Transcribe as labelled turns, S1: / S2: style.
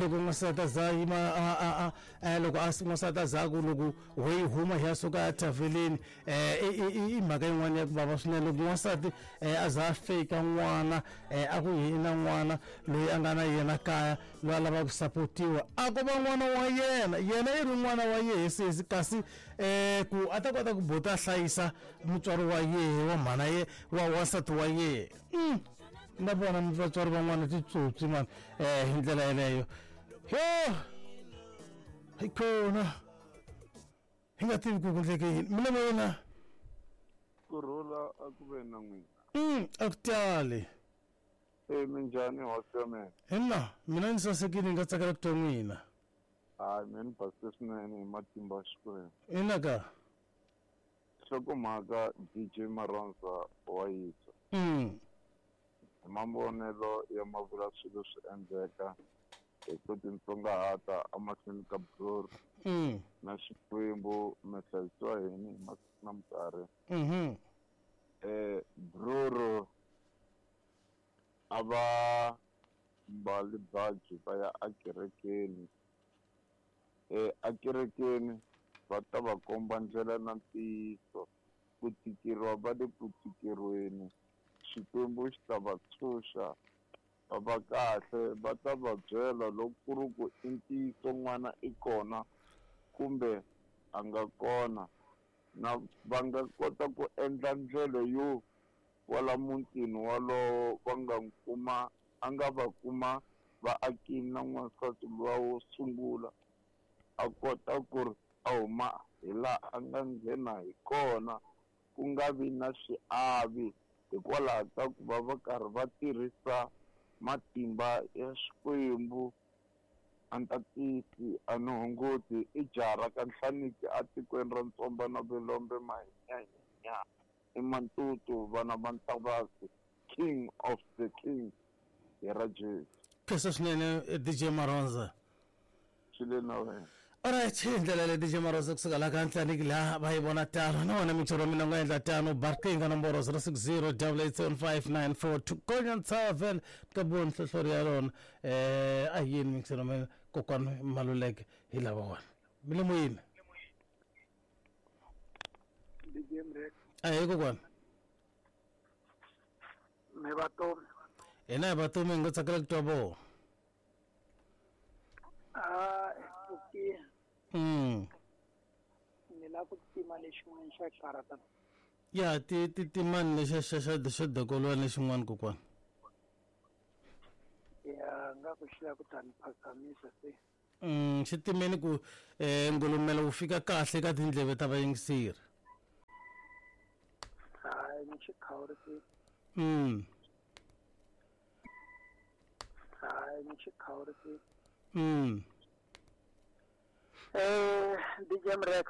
S1: Loko n'wansati a za yima a a loko a n'wansati a za ku loko ho yi huma hi ya suka ethaveleni, i mhaka yin'wana ya ku vava swinene loko n'wansati a za a fake n'wana, a ku i na n'wana loyi a nga na yena kaya, loyi a lavaka ku sapotiwa, a ko va n'wana wa yena, yena i ri n'wana wa yehe sesi, kasi ku a ta kota ku bota a hlayisa mutswari wa yehe wa mhana ye wa wansati wa yehe. Na vona vatswari van'wana titsotsi mani hi ndlela yeleyo. Yo, hi kona hi nga tivi ku ku ndleke yini mina yena.
S2: Kurhula a ku ve na n'wina.
S1: A ku tali.
S2: E minjhani, hosi ya mina?
S1: Hina mina ni sasekile, ni nga tsakela ku twa n'wina.
S2: Hayi, mina ni basile swinene hi matimba ya Xikwembu.
S1: Ina ka.
S2: Nhlokomhaka, DJ Maronza wa yisa. Hi mavonelo ya mavula swilo swi endleka hi ku titsongahata emahlweni ka Bror na Xikwembu, mi hlayisiwa hini hi masiku na minkarhi. Bror a va mbali baji va ya akerekeni. Akerekeni va ta va komba ndlela na ntiyiso, ku tikeriwa va le ku tikeriweni, Xikwembu xi ta va tshunxa va va kahle, va ta va byela loko ku ri ku i ntiyiso n'wana i kona kumbe a nga kona, na va nga kota ku endla ndlela yo kwala mutini walowo va nga kuma a nga va kuma vaakini na n'wansati luwa wo sungula, a kota ku ri a huma hi laha a nga nghena hi kona, ku nga vi na xiavi hikwalaho ka ku va va karhi va tirhisa matimba ya Xikwembu. A ni tatisi, a ni hunguti, i jaha ra ka Nhlaniki atikweni ra Ntsomba na Vilombe, mahinyahinya i Mantutu, vana va Ntavasi, king of the king hi ra Jesu.
S1: Khensa swinene, DJ Maronza.
S2: Swi le na wena.
S1: Alright, hi ndlela leyi DJ Maronza kusuka laha ka Ntlaniki laha va yi vona tano. Na wena mixero wa mina u nga endla tano, barqinga nomboro 060 8875942 konya ntshava vhele ka buwa nhlohlori ya rona. A hi yini mixero wa mina kokwani Maluleke hi lava wona. Mi le moyeni?
S3: DJ Mrek.
S1: Ahee kokwani.
S3: Mi vatomi.
S1: Hina hi vatomi, hi nga tsakela ku twa voho.
S3: Ah, okay. Ni lava ku tima lexin'wana xa karata.
S1: Ya, ti ti timani lexa xa xa xa dokolwana lexin'wana kokwani.
S3: Ya, nga ku xi lava ku ta ni phazamisa se.
S1: Xi timeni ku ngulumelo wu fika kahle ka tindleve ta vayingiseri.
S3: Hayi, ni xi khawurisile. Hayi, ni xi khawurisile. DJ Mrex.